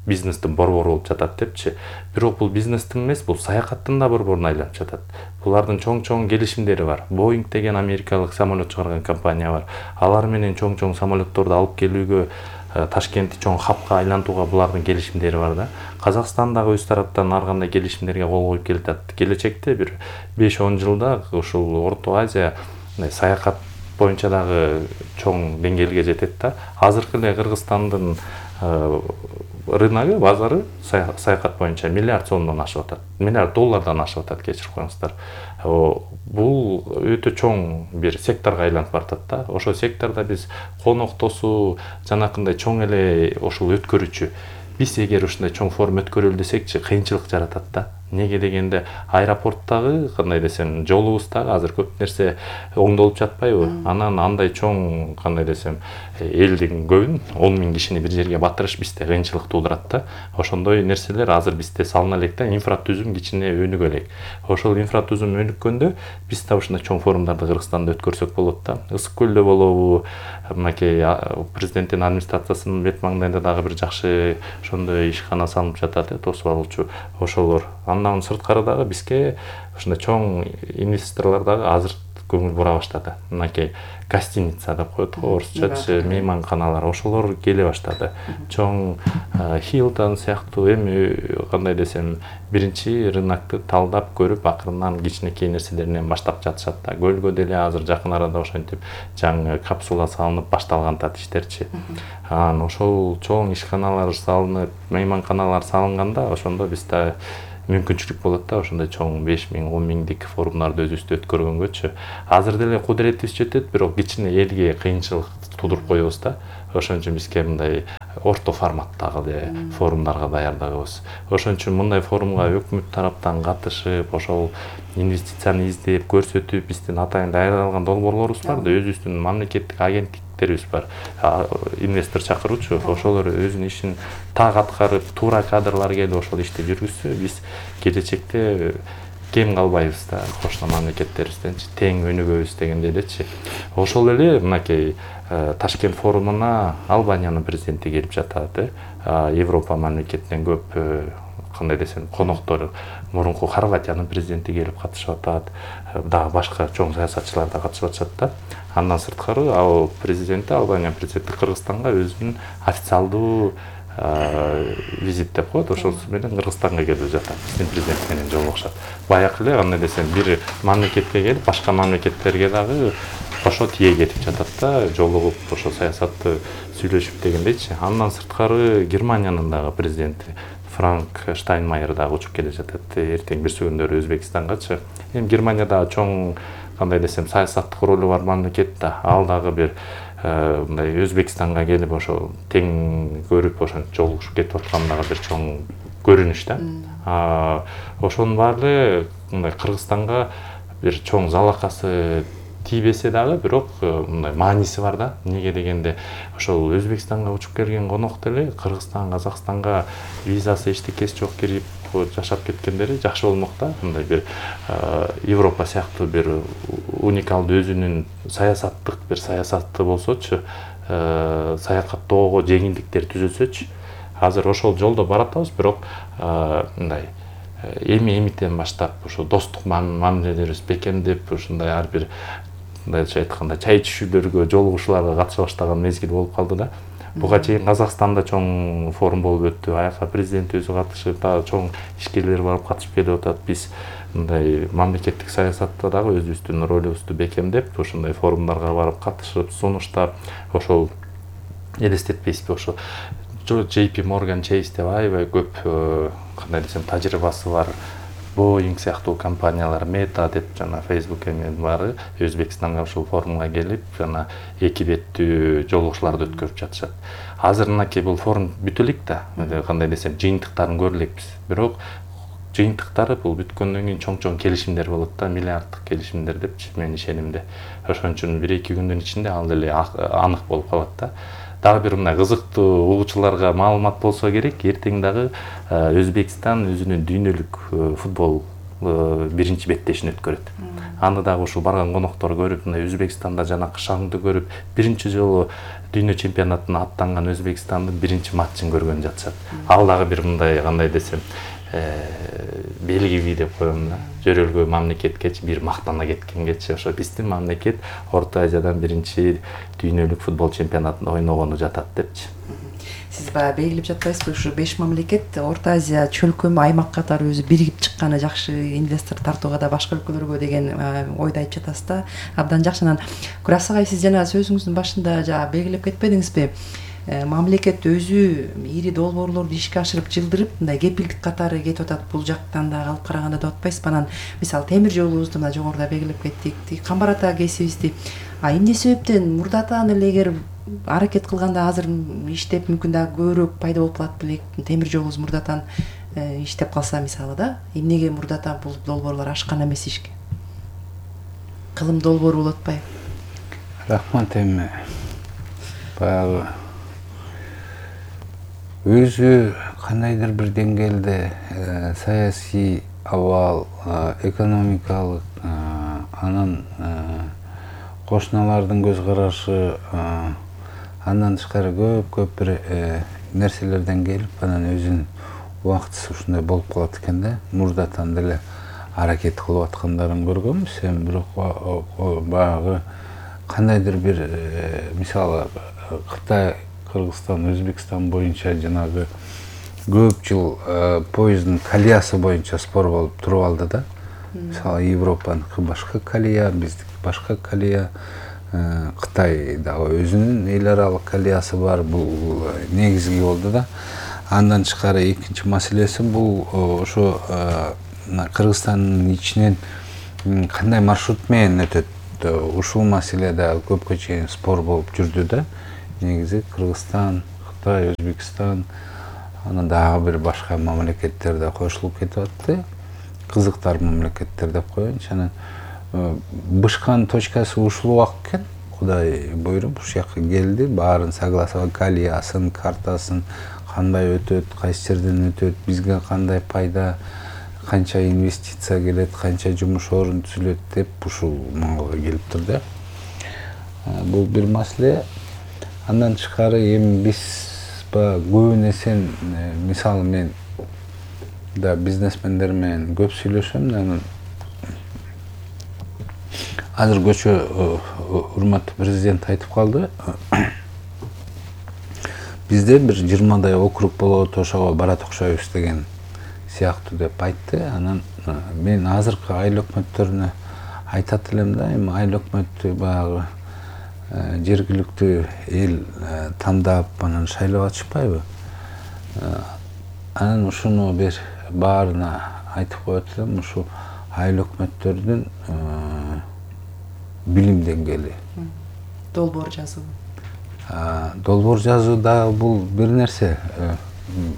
бизнестин борбору болуп жатат депчи. Бирок бул бизнестин эмес, бул саякаттын да борборуна айланып жатат. Булардын чоң-чоң келишимдери бар. Boeing деген америкалык самолет чыгарган компания бар. Алар менен чоң-чоң самолетторду алып келүүгө, Ташкентти чоң хабка айлантууга булардын келишимдери бар да. Казакстан дагы өз тараптан ар кандай келишимдерге кол коюп келатат. Келечекте бир беш он жылда ушул Орто Азия саякат боюнча дагы чоң деңгээлге жетет да. Азыркы эле Кыргызстандын рыногу, базары саякат боюнча миллиард сомдон ашып атат. Миллиард доллардан ашып атат, кечирип коюңуздар. Бул өтө чоң бир секторго айланып баратат да. Ошол сектордо биз конок тосуу, жанакындай чоң эле ошол өткөрүүчү. Биз эгер ушундай чоң форум өткөрөлү десекчи, кыйынчылык жаратат да. Неге дегенде аэропорттагы кандай десем жолубуздагы азыр көп нерсе оңдолуп жатпайбы? Анан андай чоң кандай десем элдин көбүн он миң кишини бир жерге батырыш бизде кыйынчылык туудурат да. Ошондой нерселер азыр бизде салына элек да, инфратүзүм кичине өнүгө элек. Ошол инфратүзүм өнүккөндө биз да ушундай чоң форумдарды Кыргызстанда өткөрсөк болот да. Ысык көлдө болобу, мынакей президенттин администрациясынын бет маңдайында дагы бир жакшы ошондой ишкана салынып жатат, тосуп алуучу ошолор. Андан сырткары дагы бизге ушундай чоң инвесторлор дагы азыр көңүл бура баштады. Мынакей гостиница деп коет го орусчачы, мейманканалар ошолор келе баштады. Чоң Hilton сыяктуу эми кандай десем биринчи рынокты талдап көрүп, акырынан кичинекей нерселеринен баштап жатышат да. Көлгө деле азыр жакын арада ошентип жаңы капсула салынып башталган тат иштерчи. Анан ошол чоң ишканалар салынып, мейманканалар салынганда ошондо биз да мүмкүнчүлүк болот да, ошондой чоң беш миң он миңдик форумдарды өзүбүздө өткөргөнгөчү. Азыр деле кудуретибиз жетет, бирок кичине элге кыйынчылык тудуруп коебуз да. Ошон үчүн бизге мындай орто форматтагы эле форумдарга даярдагыбыз. Ошон үчүн мындай форумга өкмөт тараптан катышып, ошол инвестицияны издеп, көрсөтүп, биздин атайын даярдалган долбоорлорубуз бар да, өзүбүздүн мамлекеттик агенттиктерибиз бар. Инвестор чакыруучу, ошолор өзүнүн ишин так аткарып, туура кадрлар келип ошол ишти жүргүзсө, биз келечекте кем калбайбыз да, кошуна мамлекеттерибизденчи тең өнүгөбүз дегенде элечи. Ошол эле мынакей Ташкент форумуна Албаниянын президенти келип жатат, Европа мамлекетинен көп кандай десем коноктор, мурунку Хорватиянын президенти келип катышып атат, дагы башка чоң саясатчылар да катышып атышат да. Андан сырткары ал президенти, Албания президенти Кыргызстанга өзүнүн официалдуу визит деп коет, ошонусу менен Кыргызстанга келип жатат, биздин президент менен жолугушат. Баягы эле кандай десем бир мамлекетке келип, башка мамлекеттерге дагы ошо тие кетип жатат да, жолугуп, ошо саясатты сүйлөшүп дегендейчи. Андан сырткары Германиянын дагы президенти Франк Штайнмайер дагы учуп келе жатат, эртең бирсүгүндөрү Өзбекстангачы. Эми Германия дагы чоң кандай десем саясаттык ролу бар мамлекет да, ал дагы бир мындай Өзбекстанга келип ошо тең көрүп, ошентип жолугушуп кетип аткан дагы бир чоң көрүнүш да. Ошонун баары эле мындай Кыргызстанга бир чоң залакасы тийбесе дагы, бирок мындай мааниси бар да. Эмнеге дегенде, ошол Өзбекстанга учуп келген конок деле Кыргызстан, Казакстанга визасы эчтекеси жок кирип жашап кеткендери жакшы болмок да. Мындай бир Европа сыяктуу бир уникалдуу өзүнүн саясаттык бир саясаты болсочу, саякаттоого жеңилдиктер түзөсөчү. Азыр ошол жолдо баратабыз, бирок мындай эми эмитен баштап ошо достук мамилелерибиз бекемдеп, ушундай ар бир мындайча айтканда чай ичүүлөргө, жолугушууларга катыша баштаган мезгил болуп калды да. Буга чейин Казакстанда чоң форум болуп өттү, АЭФ президенти өзү катышып, дагы чоң ишкерлер барып катышып келип атат. Биз мындай мамлекеттик саясатта дагы өзүбүздүн ролубузду бекемдеп, ушундай форумдарга барып катышып, сунуштап, ошол элестетпейсизби, ошо джей пи Morgan Chase деп аябай көп кандай десем тажрыйбасы бар Boeing сыяктуу компаниялар, Meta деп жана Facebook эмен баары Өзбекстанга ушул форумга келип, жана эки беттүү жолугушууларды өткөрүп жатышат. Азыр мынакей бул форум бүтө элек да, кандай десем жыйынтыктарын көрө элекпиз. Бирок жыйынтыктары бул бүткөндөн кийин чоң-чоң келишимдер болот да, миллиарддык келишимдер депчи менин ишенимде. Ошон үчүн бир эки күндүн ичинде ал деле анык болуп калат да. Дагы бир мындай кызыктуу угуучуларга маалымат болсо керек, эртең дагы Өзбекстан өзүнүн дүйнөлүк футбол биринчи беттешин өткөрөт. Аны дагы ушул барган коноктор көрүп, мындай Өзбекстанда жанакы шаңды көрүп, биринчи жолу дүйнө чемпионатына аттанган Өзбекстандын биринчи матчын көргөн жатышат. Ал дагы бир мындай кандай десем, белгиби деп коем да. Жөрөлгө мамлекеткечи бир мактана кеткенгечи, ошо биздин мамлекет Орто Азиядан биринчи дүйнөлүк футбол чемпионатында ойногону жатат депчи. Сиз баягы белгилеп жатпайсызбы, ушу беш мамлекет Орто Азия чөлкөм аймак катары өзү биригип чыкканы жакшы, инвестор тартууга да башка өлкөлөргө деген ойду айтып жатасыз да. Абдан жакшы. Анан Курас агай, сиз жана сөзүңүздүн башында жана белгилеп кетпедиңизби? Мамлекет өзү ири долбоорлорду ишке ашырып, жылдырып, мындай кепилдик катары кетип атат. Бул жактан да алып караганда деп атпайсызбы? Анан мисалы темир жолубузду мына жогоруда белгилеп кеттик, Камбар ата кесибизди. А эмне себептен мурдатан эле эгер аракет кылганда азыр иштеп мүмкүн да көбүрөөк пайда болуп калат белек, темир жолубуз мурдатан иштеп калса мисалы да, эмнеге мурдатан бул долбоорлор ашкан эмес ишке? Кылым долбоору болуп атпайбы? Рахмат. Эми баягы өзү кандайдыр бир деңгээлде саясий абал, экономикалык, анан кошуналардын көз карашы, андан тышкары көп-көп бир нерселерден келип, анан өзүнүн убактысы ушундай болуп калат экен да. Мурдатан деле аракет кылып аткандарын көргөнбүз. Эми бирок баягы кандайдыр бир мисалы Кытай, Кыргызстан, Өзбекстан боюнча жанагы көп жыл поезддин колеясы боюнча спор болуп туруп алды да. Мисалы Европаныкы башка колея, биздики башка колея, Кытай дагы өзүнүн эл аралык колеясы бар. Бул негизги болду да. Андан тышкары экинчи маселеси бул ошо Кыргызстандын ичинен кандай маршрут менен өтөт. Ушул маселе да көпкө чейин спор болуп жүрдү да. Негизи Кыргызстан, Кытай, Өзбекстан, анан дагы бир башка мамлекеттер да кошулуп кетип атты. Кызыктар мамлекеттер деп коеюнчу. Анан бышкан точкасы ушул убак экен. Кудай буйруп ушул жака келди, баарын согласовать, колеясын, картасын, кандай өтөт, кайсы жерден өтөт, бизге кандай пайда, канча инвестиция келет, канча жумуш орун түзүлөт деп ушул маалга келиптир да. Бул бир маселе. Андан тышкары эми биз көбүн эсен, мисалы мен да бизнесмендер менен көп сүйлөшөм. Анан азыр көчө урматтуу президент айтып калды. Бизде бир жыйырмадай округ болот, ошого барат окшойбуз деген сыяктуу деп айтты. Анан мен азыркы айыл өкмөттөрүнө айтат элем да, эми айыл өкмөттү баягы жергиликтүү эл тандап, анан шайлап атышпайбы? Анан ушуну бир баарына айтып коет элем, ушу айыл өкмөттөрдүн билим деңгээли. Долбоор жазуу. Долбоор жазуу да бул бир нерсе,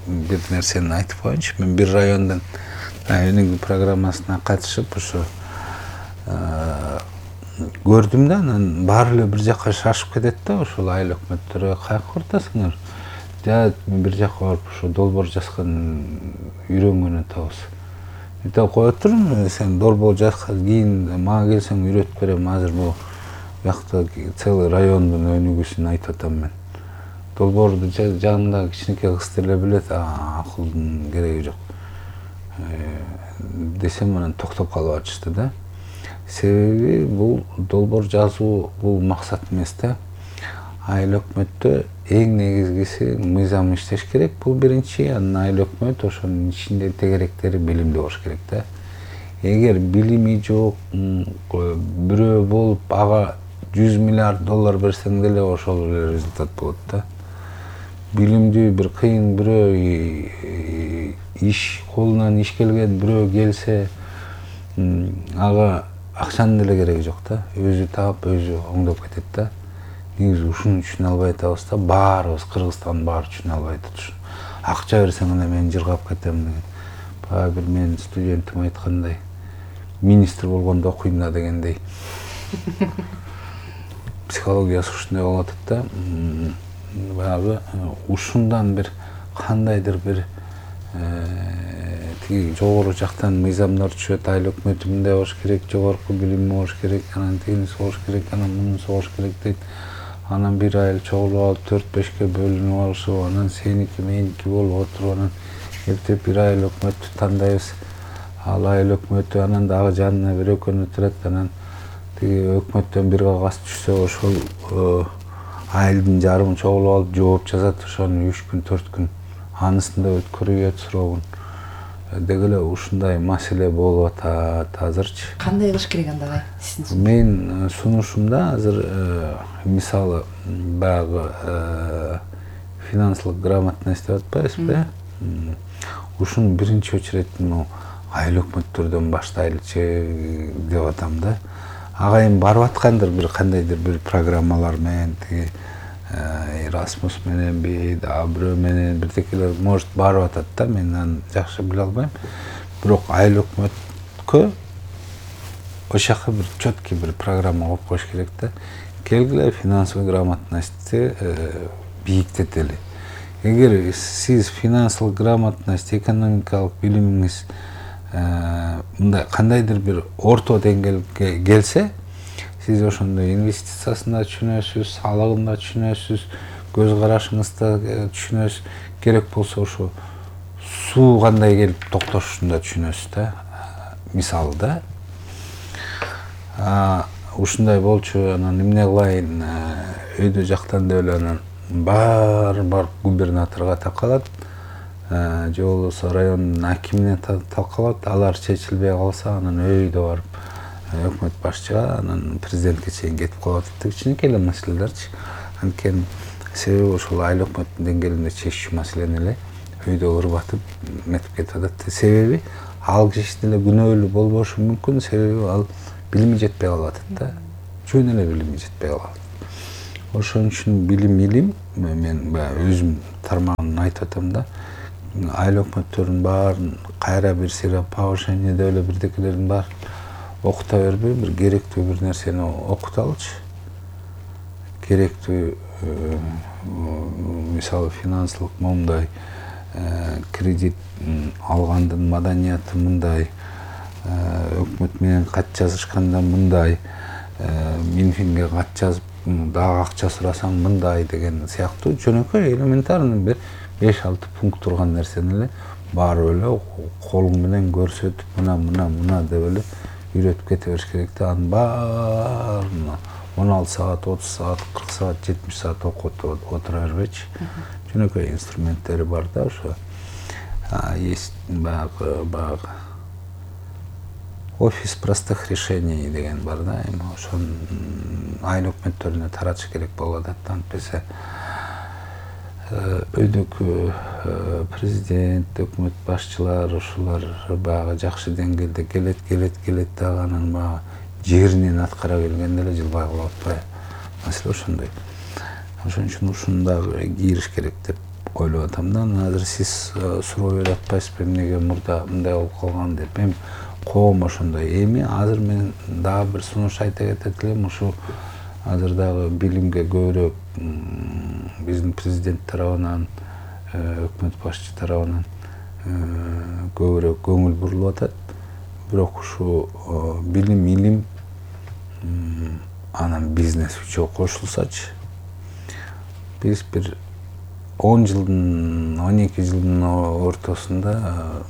бир нерсени айтып коеюнчу. Мен бир райондун өнүгүү программасына катышып ушу көрдүм да, анан баары эле бир жака шашып кетет да, ошол айыл өкмөттөргө каяка бартасыңар? Да, мен бир жака барып ушу долбоор жазган үйрөнгөн атабыз. Айтып коет турмун, сен долбоор жазган кийин мага келсең үйрөтүп берем. Азыр бул жакта целый райондун өнүгүүсүн айтып атам мен. Долбоорду жанында кичинекей кыз деле билет, акылдын кереги жок десем, анан токтоп калып атышты да. Себеби бул долбоор жазуу бул максат эмес да. Айыл өкмөттө эң негизгиси мыйзам иштеш керек, бул биринчи. Анан айыл өкмөт ошонун ичинде тегеректери билимдүү болуш керек да. Эгер билими жок бирөө болуп, ага жүз миллиард доллар берсең деле ошол эле результат болот да. Билимдүү бир кыйын бирөө иш, колунан иш келген бирөө келсе, ага акчанын деле кереги жок да. Өзү таап, өзү оңдоп кетет да. Негизи ушунун үчүн албай атабыз да. Баарыбыз Кыргызстандын баары үчүн албай атат. Акча берсең эле мен жыргап кетем деген. Баягы бир менин студентим айткандай, министр болгондо окуйм да дегендей. Психологиясы ушундай болуп атат да. Баягы ушундан бир кандайдыр бир тиги жогору жактан мыйзамдар түшөт. Айыл өкмөтү мындай болуш керек, жогорку билим болуш керек, анан тигинisi болуш керек, анан мунусу болуш керек дейт. Анан бир айыл чогулуп алып төрт бешке бөлүнүп алышып, анан сеники меники болуп отуруп, анан эптеп бир айыл өкмөттү тандайбыз. Ал айыл өкмөтү анан дагы жанына бир экөөнү турат, анан тиги өкмөттөн бир кагаз түшсө, ошол айылдын жарымы чогулуп алып жооп жазат, ошону үч күн, төрт күн анысында өткөрүп суроогун. Деги эле ушундай маселе болуп атат азырчы. Кандай кылыш керек анда? Мен сунушумда азыр мисалы баягы финансылык грамотность деп атпайбызбы? Ушуну биринчи очередь айыл өкмөттөрдөн баштайлычы деп атам да. Ага эми барып аткандыр бир кандайдыр бир программалар менен, тиги Erasmus мененби, дагы бирөө менен бирдекелер может барып атат да, мен аны жакшы биле албайм. Бирок айыл өкмөткө ошака бир четкий бир программа коюп коюш керек да. Келгиле финансовый грамотностьти бийиктетели. Эгер сиз финансылык грамотность, экономикалык билимиңиз мындай кандайдыр бир орто деңгээлге келсе, сиз ошондо инвестициясын да түшүнөсүз, салыгын да түшүнөсүз, көз карашыңызды да түшүнөсүз. Керек болсо ошо суу кандай келип токтошун да түшүнөсүз да. мисалы да. Ушундай болчу, анан эмне кылайын, өйдө жактан да эле анан бар бар губернаторго такалат, же болбосо райондун акимине талкалат, алар чечилбей калса анан өйдө барып өкмөт башчыга, анан президентке чейин кетип калат. Кичинекей эле маселелерчи. Анткени себеби ошол айыл өкмөттүн деңгээлинде чечүү маселени эле өйдө ырбатып метип кетип атат. Себеби ал киши деле күнөөлүү болбошу мүмкүн, себеби ал билими жетпей калып атат да. Жөн эле билими жетпей калат. Ошон үчүн билим илим, мен баягы өзүм тармагын айтып атам да, айыл өкмөттөрдүн баарын кайра бир сыйра повышение деп эле бирдекелердин баарын окута бербей, бир керектүү бир нерсени окуталычы. Керектүү, мисалы финансылык момундай, кредит алгандын маданияты мындай, өкмөт менен кат жазышканда мындай, Минфинге кат жазып дагы акча сурасаң мындай деген сыяктуу жөнөкөй элементарный бир беш алты пункт турган нерсени эле барып эле колуң менен көрсөтүп, мына мына мына деп эле үйрөтүп кете бериш керек да. Анын баарын он алты саат, отуз саат, кырк саат, жетимиш саат окуп отура бербейчи. Жөнөкөй инструменттери бар да, ошо есть баягы баягы офис простых решений деген бар да, эми ошон айыл өкмөттөрүнө таратыш керек болуп атат. Антпесе өйдөгү президент, өкмөт башчылар ушулар баягы жакшы деңгээлде келет, келет, келет дагы анан баягы жеринен аткара келгенде эле жылбай калып атпайбы? Маселе ошондой. Ошон үчүн ушундагы кийриш керек деп ойлоп атам да. Азыр сиз суроо берип атпайсызбы, эмнеге мурда мындай болуп калган деп. Эми коом ошондой. Эми азыр мен дагы бир сунуш айта кетет элем, ушу азыр дагы билимге көбүрөөк биздин президент тарабынан, өкмөт башчы тарабынан көбүрөөк көңүл бурулуп атат. Бирок ушу билим, илим анан бизнес үчөө кошулсачы, биз бир он жылдын, он эки жылдын ортосунда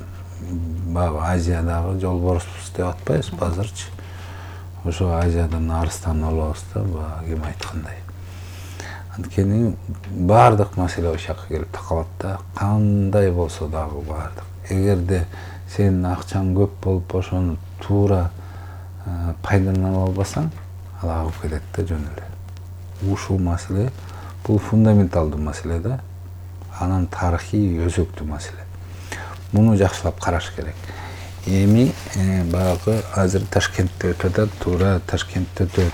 баягы Азиядагы жолборспуз деп атпайбызбы азырчы? Ошо Азиядан арыстан болобуз да, баягы ким айткандай. Анткени баардык маселе ошол жака келип такалат да, кандай болсо дагы баардык. Эгерде сенин акчаң көп болуп, ошону туура пайдалана албасаң, ал агып кетет да жөн эле. Ушул маселе бул фундаменталдуу маселе да, анан тарыхый өзөктүү маселе. Муну жакшылап караш керек. Эми баягы азыр Ташкентте өтүп атат, туура Ташкентте өтөт.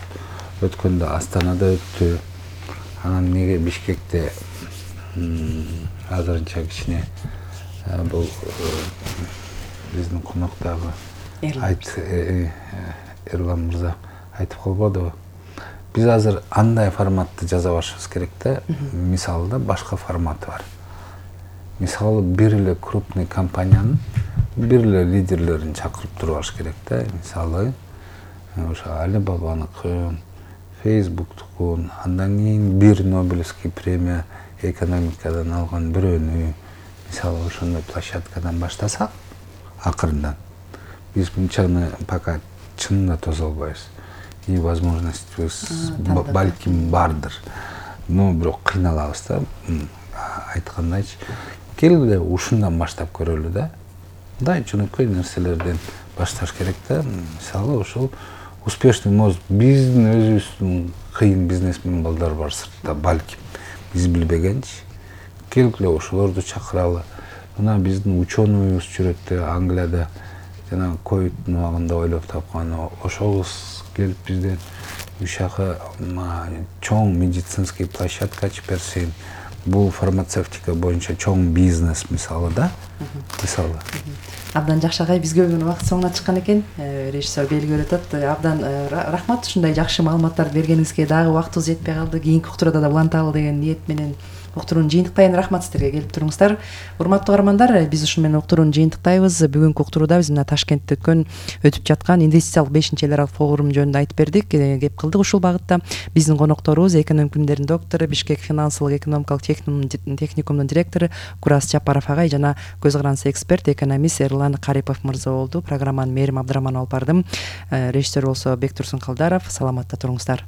Өткөндө Астанада өттү. Анан неге Бишкекте азырынча кичине бул биздин коноктагы айт Эрлан мырза айтып калбадыбы? Биз азыр андай форматты жаза башыбыз керек да. Мисалы да башка форматы бар. Мисалы бир эле крупный компаниянын бир эле лидерлерин чакырып турбаш керек да. Мисалы ошо Alibaba'ныкын, Facebook'тукун, андан кийин бир Нобелевский премия экономикадан алган бирөөнү, мисалы ошондой площадкадан баштасак, акырындан биз мынчаны пока чынында тосо албайбыз. И возможностьбиз балким бардыр. Но бирок кыйналабыз да. Айткандайчы, келгиле ушундан баштап көрөлү да. Мындай жөнөкөй нерселерден башташ керек да. Мисалы ошол успешный мост биздин өзүбүздүн кыйын бизнесмен балдар бар сыртта, балким биз билбегенчи. Келгиле ошолорду чакыралы. Мына биздин ученыйыбыз жүрөт Англияда, жана ковидтин убагында ойлоп тапкан, ошол келип бизден үч жака чоң медицинский площадка ачып берсин. Бул фармацевтика боюнча чоң бизнес мисалы да. Мисалы. Абдан жакшы агай, бизге бүгүн убакыт соңуна чыккан экен. Режиссер белгилеп атат. Абдан рахмат ушундай жакшы маалыматтарды бергениңизге. Дагы убактыбыз жетпей калды. Кийинки уктурада да уланталы деген ниет менен уктуруунун жыйынтыктайын. Рахмат сиздерге келип туруңуздар. Урматтуу угармандар, биз ушу менен уктуруунун жыйынтыктайбыз. Бүгүнкү уктурууда биз мына Ташкентте өткөн өтүп жаткан инвестициялык бешинчи эл аралык форум жөнүндө айтып бердик, кеп кылдык ушул багытта. Биздин конокторубуз экономика илимдеринин доктору, Бишкек финансылык экономикалык техникумдун директору Курас Жапаров агай жана көз карандысы эксперт, экономист Эрлан Карипов мырза болду. Программаны Мээрим Абдыраманова алып бардым. Режиссер болсо Бектурсун Калдаров. Саламатта туруңуздар.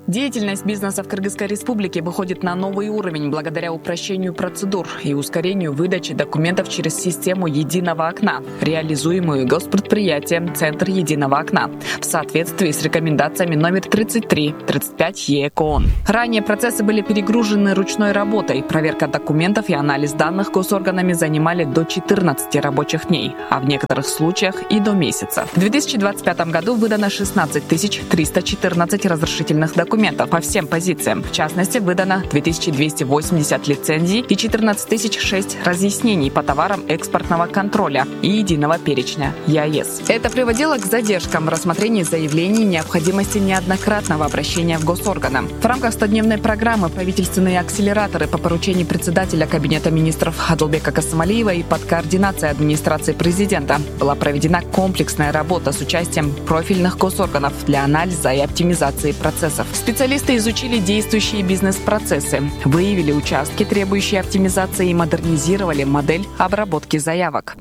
Деятельность бизнеса в Кыргызской Республике выходит на новый уровень благодаря упрощению процедур и ускорению выдачи документов через систему единого окна, реализуемую госпредприятием «Центр единого окна» в соответствии с рекомендациями номер тридцать три тридцать пять ЕКОН. Ранее процессы были перегружены ручной работой. Проверка документов и анализ данных госорганами занимали до четырнадцати рабочих дней, а в некоторых случаях и до месяца. В две тысячи двадцать пятом году выдано шестнадцать тысяч триста четырнадцать разрешительных документов по всем позициям. В частности, выдано две тысячи двести восемьдесят лицензий и четырнадцать тысяч шесть разъяснений по товарам экспортного контроля и единого перечня ЕАЭС. Это приводило к задержкам в рассмотрении заявлений и необходимости неоднократного обращения в госорганы. В рамках стодневной программы правительственные акселераторы по поручению председателя Кабинета министров Адылбека Касымалиева и под координацией администрации президента была проведена комплексная работа с участием профильных госорганов для анализа и оптимизации процессов. Специалисты изучили действующие бизнес-процессы, выявили участки, требующие оптимизации, и модернизировали модель обработки заявок.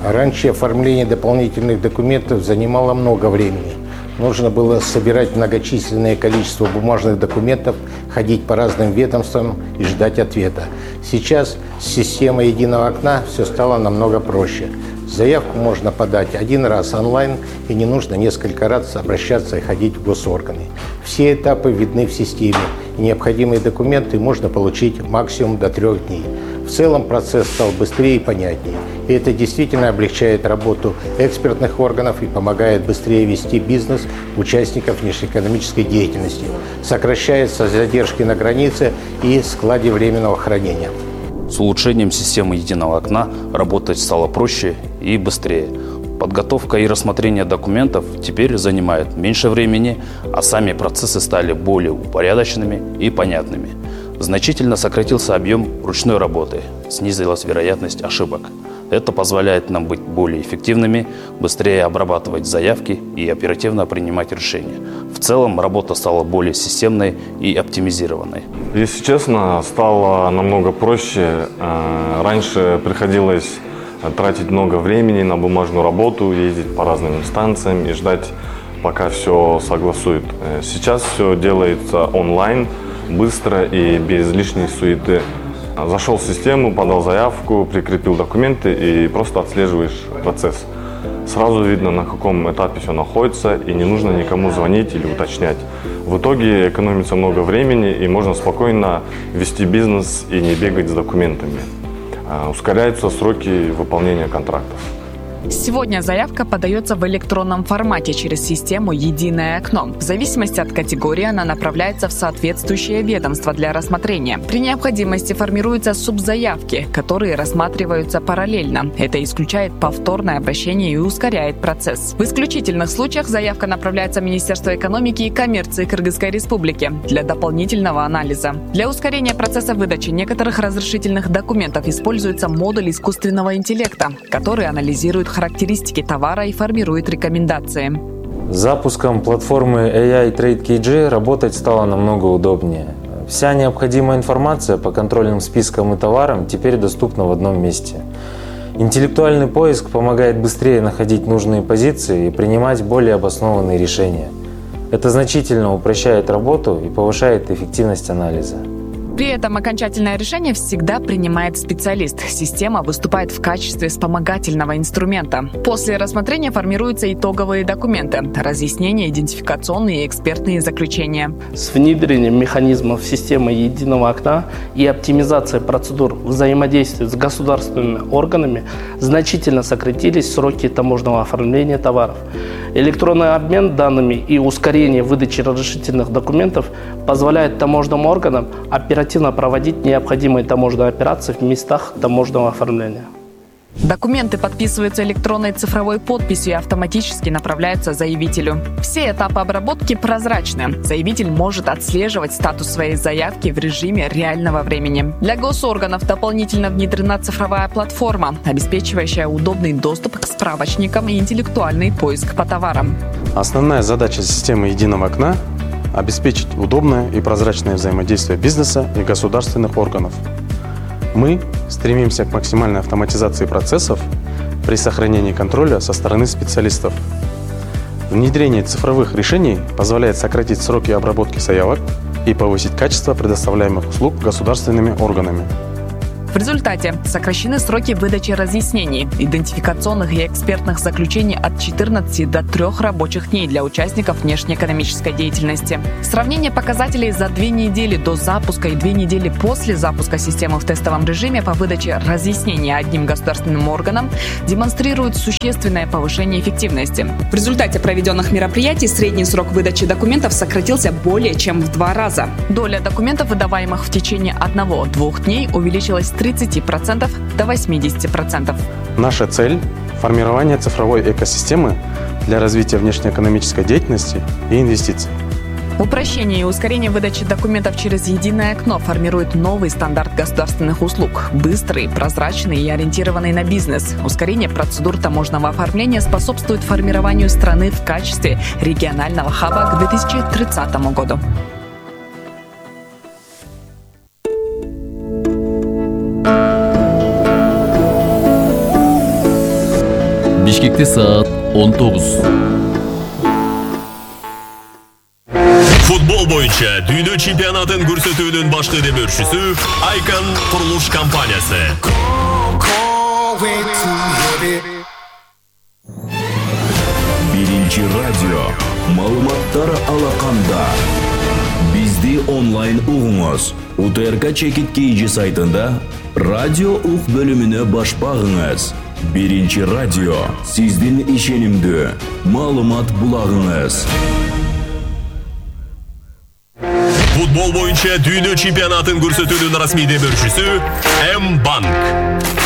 Раньше оформление дополнительных документов занимало много времени. Нужно было собирать многочисленное количество бумажных документов, ходить по разным ведомствам и ждать ответа. Сейчас с системой единого окна все стало намного проще. Заявку можно подать один раз онлайн, и не нужно несколько раз обращаться и ходить в госорганы. Все этапы видны в системе, и необходимые документы можно получить максимум до трех дней. В целом процесс стал быстрее и понятнее, и это действительно облегчает работу экспертных органов и помогает быстрее вести бизнес участников внешнеэкономической деятельности. Сокращаются задержки на границе и складе временного хранения. С улучшением системы единого окна работать стало проще и быстрее. Подготовка и рассмотрение документов теперь занимает меньше времени, а сами процессы стали более упорядоченными и понятными. Значительно сократился объем ручной работы, снизилась вероятность ошибок. Это позволяет нам быть более эффективными, быстрее обрабатывать заявки и оперативно принимать решения. В целом работа стала более системной и оптимизированной. Если честно, стало намного проще. Раньше приходилось тратить много времени на бумажную работу, ездить по разным инстанциям и ждать, пока все согласуют. Сейчас все делается онлайн, быстро и без лишней суеты. Зашел в систему, подал заявку, прикрепил документы и просто отслеживаешь процесс. Сразу видно, на каком этапе все находится, и не нужно никому звонить или уточнять. В итоге экономится много времени, и можно спокойно вести бизнес и не бегать с документами. Ускоряются сроки выполнения контрактов. Сегодня заявка подается в электронном формате через систему «Единое окно». В зависимости от категории она направляется в соответствующее ведомство для рассмотрения. При необходимости формируются субзаявки, которые рассматриваются параллельно. Это исключает повторное обращение и ускоряет процесс. В исключительных случаях заявка направляется в Министерство экономики и коммерции Кыргызской Республики для дополнительного анализа. Для ускорения процесса выдачи некоторых разрешительных документов используется модуль искусственного интеллекта, который анализирует характеристики товара и формирует рекомендации. С запуском платформы эй ай Trade кей джи работать стало намного удобнее. Вся необходимая информация по контрольным спискам и товарам теперь доступна в одном месте. Интеллектуальный поиск помогает быстрее находить нужные позиции и принимать более обоснованные решения. Это значительно упрощает работу и повышает эффективность анализа. При этом окончательное решение всегда принимает специалист. Система выступает в качестве вспомогательного инструмента. После рассмотрения формируются итоговые документы, разъяснения, идентификационные и экспертные заключения. С внедрением механизмов системы единого окна и оптимизацией процедур взаимодействия с государственными органами значительно сократились сроки таможенного оформления товаров. Электронный обмен данными и ускорение выдачи разрешительных документов позволяет таможенным органам оперативно проводить необходимые таможенные операции в местах таможенного оформления. Документы подписываются электронной цифровой подписью и автоматически направляются заявителю. Все этапы обработки прозрачны. Заявитель может отслеживать статус своей заявки в режиме реального времени. Для госорганов дополнительно внедрена цифровая платформа, обеспечивающая удобный доступ к справочникам и интеллектуальный поиск по товарам. Основная задача системы единого окна – обеспечить удобное и прозрачное взаимодействие бизнеса и государственных органов. Мы стремимся к максимальной автоматизации процессов при сохранении контроля со стороны специалистов. Внедрение цифровых решений позволяет сократить сроки обработки заявок и повысить качество предоставляемых услуг государственными органами. В результате сокращены сроки выдачи разъяснений, идентификационных и экспертных заключений от четырнадцати до трёх рабочих дней для участников внешнеэкономической деятельности. Сравнение показателей за две недели до запуска и две недели после запуска системы в тестовом режиме по выдаче разъяснений одним государственным органам демонстрирует существенное повышение эффективности. В результате проведенных мероприятий средний срок выдачи документов сократился более чем в два раза. Доля документов, выдаваемых в течение одного-двух дней, увеличилась с тридцати процентов до восьмидесяти процентов. Наша цель – формирование цифровой экосистемы для развития внешнеэкономической деятельности и инвестиций. Упрощение и ускорение выдачи документов через единое окно формирует новый стандарт государственных услуг. Быстрый, прозрачный и ориентированный на бизнес. Ускорение процедур таможенного оформления способствует формированию страны в качестве регионального хаба к две тысячи тридцатому году. Бишкекте саат он тогуз. Футбол боюнча дүйнө чемпионатын көрсөтүүнүн башкы демөөрчүсү Айкан курулуш компаниясы. Биринчи радио маалыматтар алаканда. Бизди онлайн угуңуз. У Т Р К Чекит Кейджи сайтында радио ук бөлүмүнө баш багыңыз. Биринчи радио сиздин ишенимдүү маалымат булагыңыз. Футбол боюнча дүйнө чемпионатын көрсөтүүнүн расмий демөөрчүсү М-банк.